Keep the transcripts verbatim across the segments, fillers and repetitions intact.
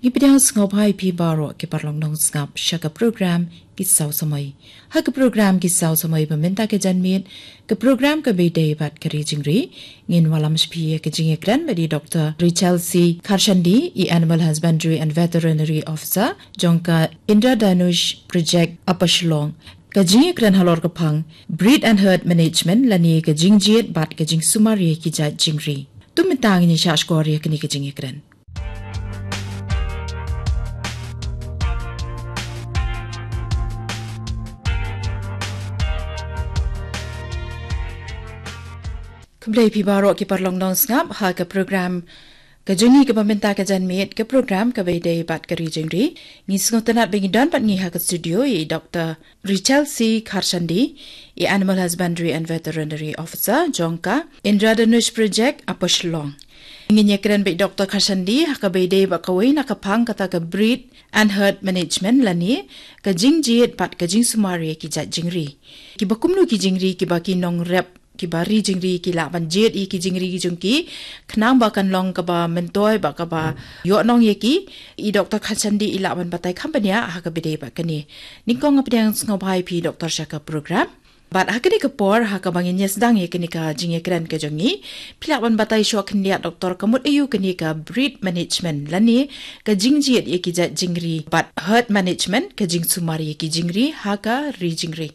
Ngi pdiang sngewbha ïa phi baroh ki paralok nongsngap sha ka program Ki Saw Samoi. Ha ka program Ki Saw Samoi ba mynta ka janmiet, ka program kaba ïadei bad ka ri jingri, ngin wallam sha phi ïa ka jingïakren bad i Doctor Rachel C Kharshandi, i Animal Husbandry and Veterinary Officer jong ka Indradhanush Project Upper Shillong. Ka jingïakren halor ka phang Breed and Herd Management lane ka jingjied bad ka jingsumar ïa ki jait jingri. To mynta ngin ïa shah shkor ïa kane ka jingïakren. Khublei phi baroh ki paralok nongsngap ha ka program ka jong ngi kaba mynta ka janmiet, ka program kaba ïadei bad ka ri jingri. Ngi sngewtynnat ba ngi don bad ngi ha ka studio i Doctor Rachel C Kharshandi, i Animal Husbandry and Veterinary Officer jong ka Indradhanush Project Upper Shillong. Ngin ïakren bad i Doctor Kharshandi ha kaba ïadei bad kawei na ka phang kata ka Breed and Herd Management lane ka jingjied bad ka jingsumar ïa ki jait jingri. Kiba kumno ki jingri kiba ki nongrep, kiba ri jingri ki lah ban jied ïa ki jingri ki jong ki, khnang ba kan long kaba myntoi bad kaba ïoh nong ïa ki. I Doctor Kharshandi i lah ban batai kham bniah ha kaba ïadei bad kane. Nyngkong nga pdiang sngewbha ïa phi Doctor sha ka program. Bad ha kane ka por ha kaba ngin ïa sdang ïa kane ka jingïakren ka jong ngi, phi lah ban batai shuwa khyndiat Doctor, ka mut aïu kane ka Breed Management lane ka jingjied ïa ki jait jingri bad Herd Management, ka jingsumar ïa ki jingri ha ka ri jingri.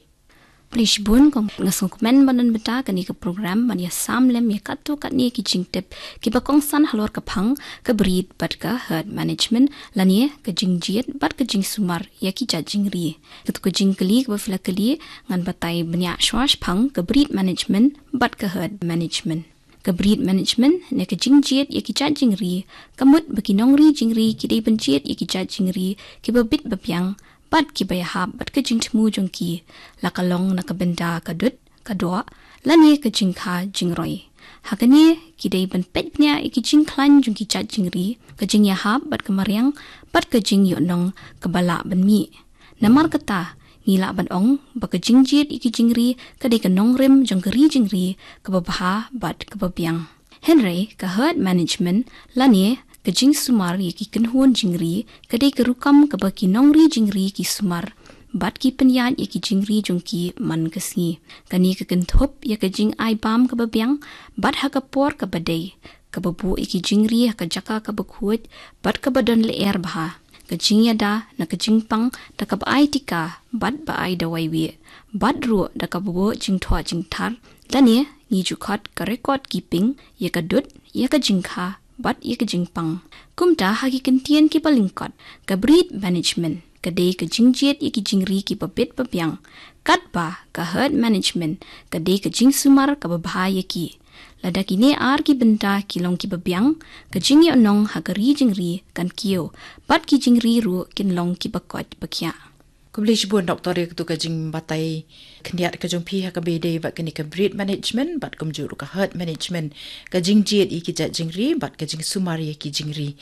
Khublei shibun, kong, nga sngewkmen ban don bynta ha kane ka program ban ïa sam lem ïa katto katne ki jingtip kiba kongsan halor ka phang ka Breed bad ka Herd Management lane ka jingjied bad ka jingsumar ïa ki jait jingri. Katto ka jingkylli kaba phi la kylli, ngan batai bniah shuwa shaphang ka Breed Management bad ka Herd Management. Ka Breed Management ne ka jingjied ïa ki jait jingri, ka mut ba ki nongri jingri ki dei ban jied ïa ki jait jingri kiba bit ba biang bad kiba ïahap bad ka jingthmu jong ki, la ka long na ka bynta ka dud, ka doh lane ka jingkha jingroi. Ha kane ki dei ban peit bniah ïa ki jingkhlaiñ jong ki jait jingri, ka jingïahap bad ka mariang bad ka jingïohnong kaba lah ban mih. Namar kata, ngi lah ban ong ba ka jingjied ïa ki jingri ka dei ka nongrim jong ka ri jingri kaba bha bad kaba biang. Hynrei ka Herd Management lane ka jingsumar ïa ki kynhun jingri ka dei ka rukom kaba ki nongri jingri ki sumar bad ki pynïaid ïa ki jingri jong ki man ka sngi. Kane ka kynthup ïa ka jingai bam kaba biang bad ha ka por kaba dei, kaba buh ïa ki jingri ha ka jaka kaba khuid bad kaba don lyer bha, ka jingïada na ka jingpang da kaba ai tika bad ba ai dawai wieh, bad ruh da kaba buh jingthoh jingthar lane ngi ju khot ka record keeping ïa ka dud, ïa ka jingkha bad ïa ka jingpang. Kumta ha ki kyntien kiba lyngkot, ka Breed Management ka dei ka jingjied ïa ki jingri kiba bit ba biang, katba ka Herd Management ka dei ka jingsumar kaba bha ïa ki. Lada kine ar ki bynta ki long kiba biang, ka jingïohnong ha ka ri jingri kan kiew bad ki jingri ruh kin long kiba koit ba khiah. Khublei shibun Doctor ïa katu ka jingbatai khyndiat ka jong phi ha kaba ïadei bad kane ka Breed Management bad kumjuh ruh ka Herd Management, ka jingjied ïa ki jait jingri bad ka jingsumar ïa ki jingri.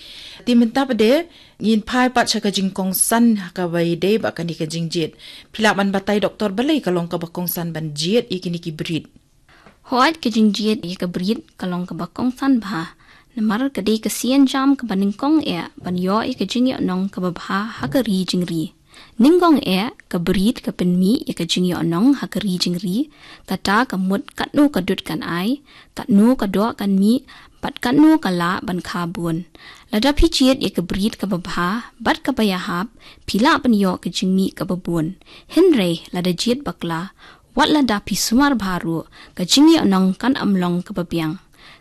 Te mynta pat de ngin phai pat sha ka jingkongsan ha kaba ïadei bad kane ka jingjied. Phi lah ban batai Doctor, balei ka long kaba kongsan ban jied ïa kine ki breed? Hooid, ka jingjied ïa ka breed ka long kaba kongsan bha, namar ka dei ka sienjam kaba nyngkong eh ban ïoh ïa ka jingïohnong kaba bha ha ka ri jingri. Nyngkong eh ka breed ka pynmih ïa ka jingïohnong ha ka ri jingri, kata ka mut katno ka dud kan ai, katno ka doh kan mih, bad katno ka lah ban kha bun. Lada phi jied ïa ka breed kaba bha bad kaba ïahap, phi lah ban ïoh ka jingmih kaba bun. Hynrei lada jied bakla, wat lada phi sumar bha ruh, ka jingïohnong kan ym long kaba biang.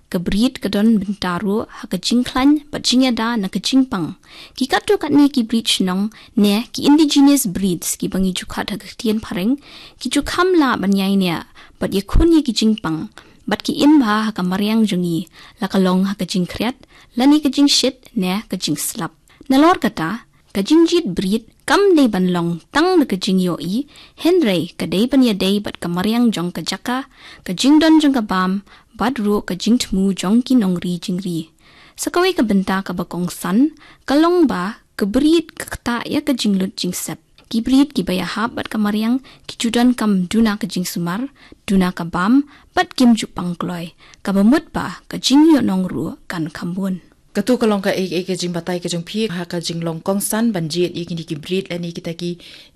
Ka breed ka don bynta ruh ha ka jingkhlaiñ bad jingïada na ka jingpang. Ki katto katne ki breed shnong ne ki indigenous breeds kiba ngi ju khot ha ka ktien phareng, ki ju kham lah ban ïaineh bad ïakhun ïa ki jingpang, bad ki im bha ha ka mariang jong ngi, la ka long ha ka jingkhriat lane ka jingshit ne ka jingslap. Nalor kata, ka jingjied breed kam dei ban long tang na ka jingïohi, hynrei ka dei ban ïadei bad ka mariang jong ka jaka, ka jingdon jong ka bam, bad ruh ka jingthmu jong ki nongri jingri. Sa kawei ka bynta kaba kongsan ka long ba ka breed ka ktah ïa ka jinglut jingsep. Ki breed kiba ïahap bad ka mariang ki ju donkam duna ka jingsumar, duna ka bam, bad kim ju pang kloi, kaba mut ba ka jingïohnong ruh kan kham bun. Katu ka long kaei kaei ka jingbatai ka jong phi ha ka jinglong kongsan ban jied ïa kine ki breed lane kita ki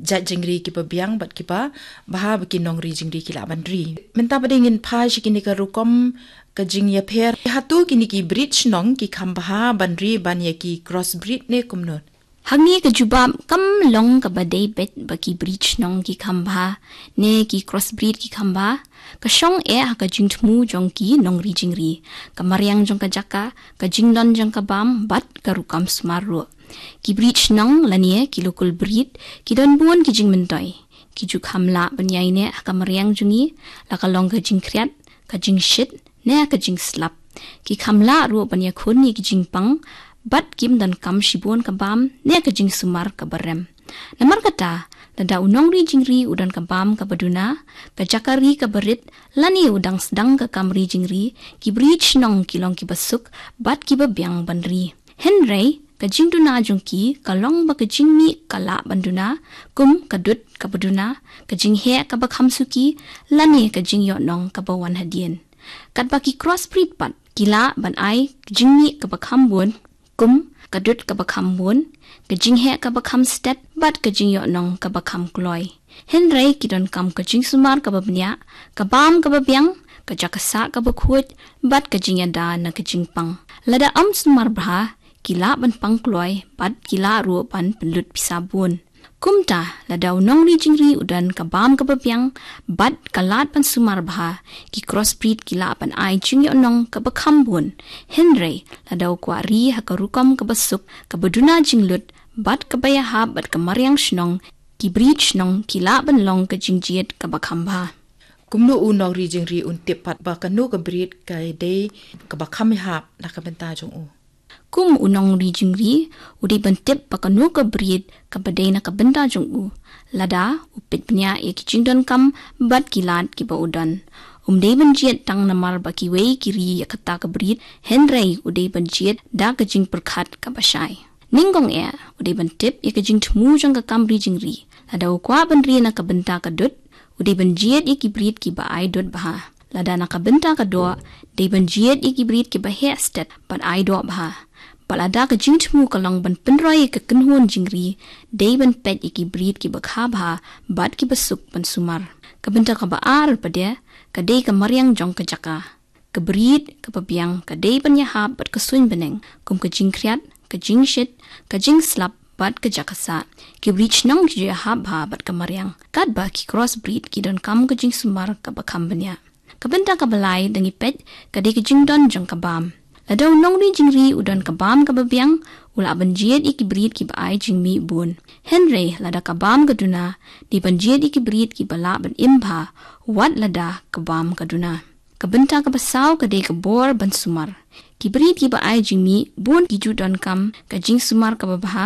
jait jingri kiba biang bad kiba bha ba ki nongri jingri ki lah ban ri. Mynta pat ngin phai sha kine ka rukom ka jingïapher. Hato kine ki breed shnong ki kham bha ban ri ban ïa ki crossbreed ne kumno? Hangne ka jubab kam long kaba dei beit ba ki breed shnong ki kham bha ne ki crossbreed ki kham bha. Ka shong eh ha ka jingthmu jong ki nongri jingri, ka mariang jong ka jaka, ka jingdon jong ka bam bad ka rukom sumar ruh. Ki breed shnong lane ki local breed ki don bun ki jingmyntoi. Ki ju kham lah ban ïaineh ha ka mariang jong ngi, la ka long ka jingkhriat, ka jingshit ne ka jingslap. Ki kham lah ruh ban ïakhun ïa ki jingpang bad kim donkam shibun ka bam ne ka jingsumar kaba rem. Namar kata, lada u nongri jingri u don ka bam kaba duna, ka jaka ri kaba rit, lane u dang sdang ka kam ri jingri, ki breed shnong ki long kiba suk bad kiba biang ban ri. Hynrei ka jingduna jong ki ka long ba ka jingmih ka lah ban duna, kum ka dud kaba duna, ka jingheh kaba kham suki, lane ka jingïohnong kaba wan hadien. Katba ki crossbreed pat ki lah ban ai ka jingmih kaba kham bun, kum ka dud kaba kham bun, ka jingheh kaba kham stet bad ka jingïohnong kaba kham kloi. Hynrei ki donkam ka jingsumar kaba bniah, ka bam kaba biang, ka jaka sah kaba khuid bad ka jingïada na ka jingpang. Lada ym sumar bha, ki lah ban pang kloi bad ki lah ruh ban pynlut pisa bun. Kumta, lada u nongri jingri u don ka bam kaba biang bad ka lad ban sumar bha, ki crossbreed ki lah ban ai jingïohnong kaba kham bun. Hynrei, lada u kwah ri ha ka rukom kaba suk, kaba duna jinglut bad kaba ïahap bad ka mariang shnong, ki breed shnong ki lah ban long ka jingjied kaba kham bha. Kumno u nongri jingri un tip pat ba kano ka breed ka dei kaba kham ïahap na ka bynta jong u? Kum u nongri jingri, u dei ban tip ba kano ka breed kaba dei na ka bynta jong u, lada u peit bniah ïa ki jingdonkam bad ki lad kiba u don. Um dei ban jied tang namar ba kiwei ki ri ïa kata ka breed, hynrei u dei ban jied da ka jingpyrkhat kaba shai. Nyngkong eh, u dei ban tip ïa ka jingthmu jong ka kam ri jingri. Lada u kwah ban ri na ka bynta ka dud, u dei ban jied ïa ki breed kiba ai dud bha. Lada na ka bynta ka doh, dei ban jied ïa ki breed kiba heh stet bad ai doh bha. Bad lada ka jingthmu ka long ban pynroi ïa ka kynhun jingri, dei ban peit ïa ki breed kiba kha bha bad kiba suk ban sumar. Ka bynta kaba ar pat de, ka dei ka mariang jong ka jaka. Ka breed kaba biang ka dei ban ïahap bad ka suiñ bneng, kum ka jingkhriat, ka jingshit, ka jingslap bad ka jaka sah. Ki breed shnong ki ju ïahap bha bad ka mariang, katba ki crossbreed ki donkam ka jingsumar kaba kham bniah. Ka bynta kaba lai, da ngi peit, ka dei ka jingdon jong ka bam. Lada u nongri jingri u don ka bam kaba biang, u lah ban jied ïa ki breed kiba ai jingmih bun. Hynrei lada ka bam ka duna, dei ban jied ïa ki breed kiba lah ban im bha, wat lada ka bam ka duna. Ka bynta kaba saw ka dei ka bor ban sumar. Ki breed kiba ai jingmih bun ki ju donkam ka jingsumar kaba bha,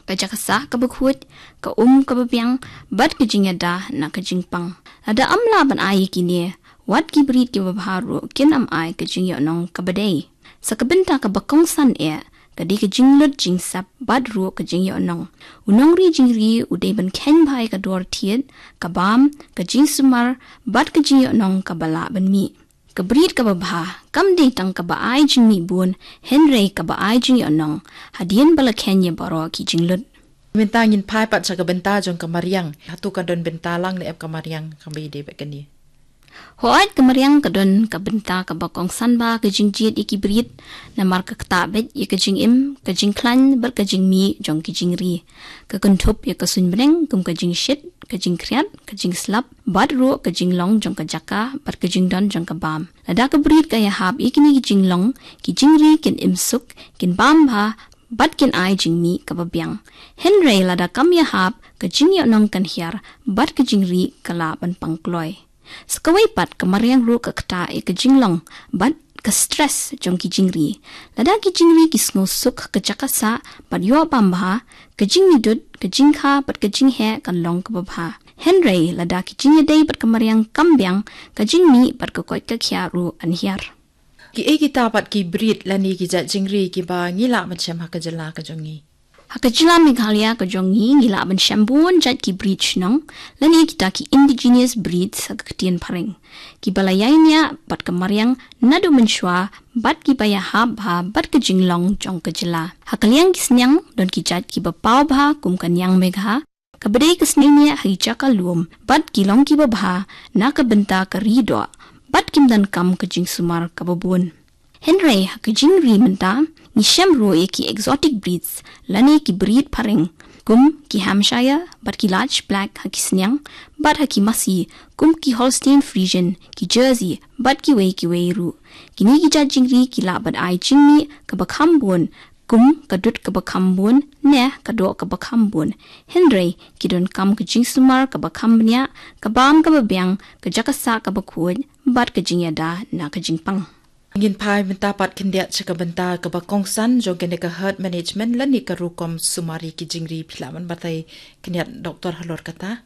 ka jaka sah kaba khuid, ka um kaba biang, bad ka jingïada na ka jingpang. Lada ym lah ban ai ïa kine, wat ki breed kiba bha ruh kin ym ai ka jingïohnong kaba dei. Sa ka bynta kaba kongsan eh, ka dei ka jinglut jingsep bad ruh ka jingïohnong. U nongri jingri u dei ban kheiñ bha ïa ka dor thied, ka bam, ka jingsumar, bad ka jingïohnong kaba lah ban mih. Ka breed kaba bha kam dei tang kaba ai jingmih bun, hynrei kaba ai jingïohnong, hadien ba la kheiñ ïa baroh ki jinglut. Mynta ngin phai pat sha ka bynta jong ka mariang. Hato ka don bynta lang ne em ka mariang kaba ïadei bad kane? Hooid, ka mariang ka don ka bynta kaba kongsan bha ka jingjied ïa ki breed, namar ka ktah beit ïa ka jingim, ka jingkhlaiñ bad ka jingmih jong ki jingri. Ka kynthup ïa ka suiñ bneng kum ka jingshit, ka jingkhriat, ka jingslap, bad ruh ka jinglong jong ka jaka bad ka jingdon jong ka bam. Lada ka breed ka ïahap ïa kine ki jinglong, ki jingri kin im suk, kin bam bha, bad kin ai jingmih kaba biang. Hynrei lada kam ïahap, ka jingïohnong kan hiar bad ka jingri ka lah ban pang kloi. Sa kawei pat, ka mariang ruh ka ktah ïa ka jinglong bad ka stress jong ki jingri. Lada ki jingri ki sngew suk ha ka jaka sah bad ïoh bam bha, ka jingmih dud, ka jingkha bad ka jingheh kan long kaba bha. Hynrei lada ki jingïadei bad ka mariang kam biang, ka jingmih bad ka koit ka khiah ruh kan hiar. Kiei kita pat ki breed lane ki jait jingri kiba ngi lah ban shem ha ka jylla ka jong ngi? Ha ka jylla Meghalaya ka jong ngi, ngi lah ban shem bun jait ki breed shnong, lane kita ki indigenous breeds ha ka ktien phareng, kiba la ïaineh bad ka mariang naduh mynshuwa, bad kiba ïahap bha bad ka jinglong jong ka jylla. Ha ka liang ki sniang, don ki jait kiba paw bha kum ka Niang Megha, kaba dei ka sniang neh ha ki jaka lum, bad ki long kiba bha na ka bynta ka ri doh, bad kim donkam ka jingsumar kaba bun. Hynrei ha ka jingri mynta, ngi shem ruh ïa ki exotic breeds, lane ki breed phareng, kum ki Hampshire bad ki Large Black ha ki sniang, bad ha ki masi, kum ki Holstein Friesian, ki Jersey bad kiwei kiwei ruh. Kine ki jait jingri ki lah ban ai jingmih kaba kham bun, kum ka dud kaba kham bun, ne ka doh kaba kham bun. Hynrei ki donkam ka jingsumar kaba kham bniah, ka bam kaba biang, ka jaka sah kaba khuid, bad ka jingïada na ka jingpang. Ngin phai mynta pat khyndiat sha ka bynta kaba kongsan jong kane ka herd management lane ka rukom sumar ïa ki jingri. Phi lah ban batai khyndiat, Doktor, halor kata?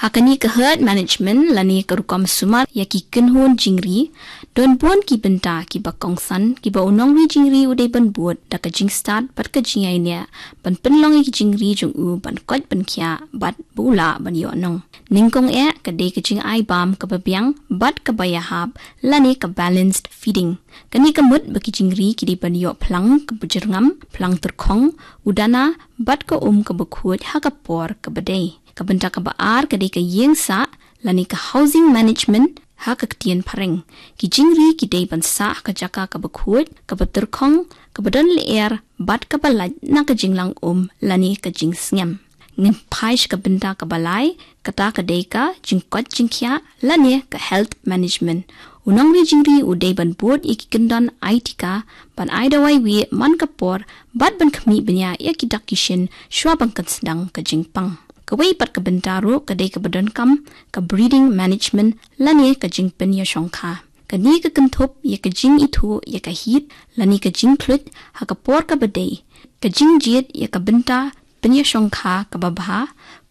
Ha kane ka herd management lane ka rukom sumar ïa ki kynhun jingri, don bun ki bynta kiba kongsan kiba u nongri jingri u dei ban bud da ka jingstad bad ka jingïaineh, ban pynlong ïa ki jingri jong u ban koit ban khiah bad ba u lah ban ïoh nong. Nyngkong eh ka dei ka jingai bam kaba biang bad kaba ïahap, lane ka balanced feeding. Kane ka mut ba ki jingri ki dei ban ïoh phlang kaba jyrngam, phlang tyrkhong, udana, bad ka um kaba khuid ha ka por kaba dei. Ka bynta kaba ar ka dei ka ïing sah, lane ka housing management ha ka ktien phareng. Ki jingri ki dei ban sah ha ka jaka kaba khuid, kaba tyrkhong, kaba don lyer, bad kaba lait na ka jinglang um lane ka jingsngem. Ngin phai sha ka bynta kaba lai, kata ka dei ka jingkoit jingkhiah lane ka health management. U nongri jingri u dei ban bud ïa ki kyndon ai tika, ban ai dawai wieh man ka por, bad ban khmih bniah ïa ki dak ki shin shuwa ban kynsan ka jingpang. Kawei pat ka bynta ruh ka dei kaba donkam, ka breeding management lane ka jingpynïashongkha. Kane ka kynthup ïa ka jingithuh ïa ka heat lane ka jingkhluit ha ka por kaba dei, ka jingjied ïa ka bynta pynïashongkha kaba bha,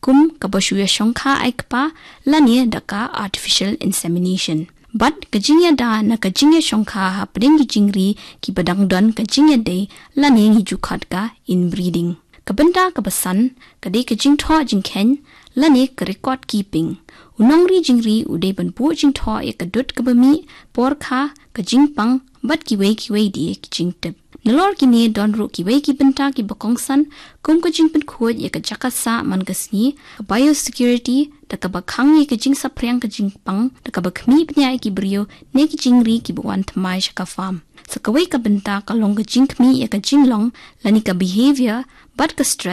kum kaba shu ïashongkha ai kpa, lane da ka artificial insemination. Bad ka jingïada na ka jingïashongkha hapdeng ki jingri kiba dang don ka jingïadei, lane ngi ju khot ka inbreeding. Ka bynta kaba san ka dei ka jingthoh jingkheiñ lane ka record keeping. U nongri jingri u dei ban buh jingthoh ïa ka dud kaba mih, por kha, ka jingpang, bad kiwei kiwei de ki jingtip. Nalor kine don ruh kiwei ki bynta kiba kongsan, kum ka jingpynkhuid ïa ka jaka sah man ka sngi, ka biosecurity, da kaba khang ïa ka jingsaphriang ka jingpang, da kaba khmih bniah ïa ki briew ne ki jingri kiba wan thymmai sha ka farm. Sa kawei ka bynta ka long ka jingkhmih ïa ka jinglong lane ka behavior, bad ka stress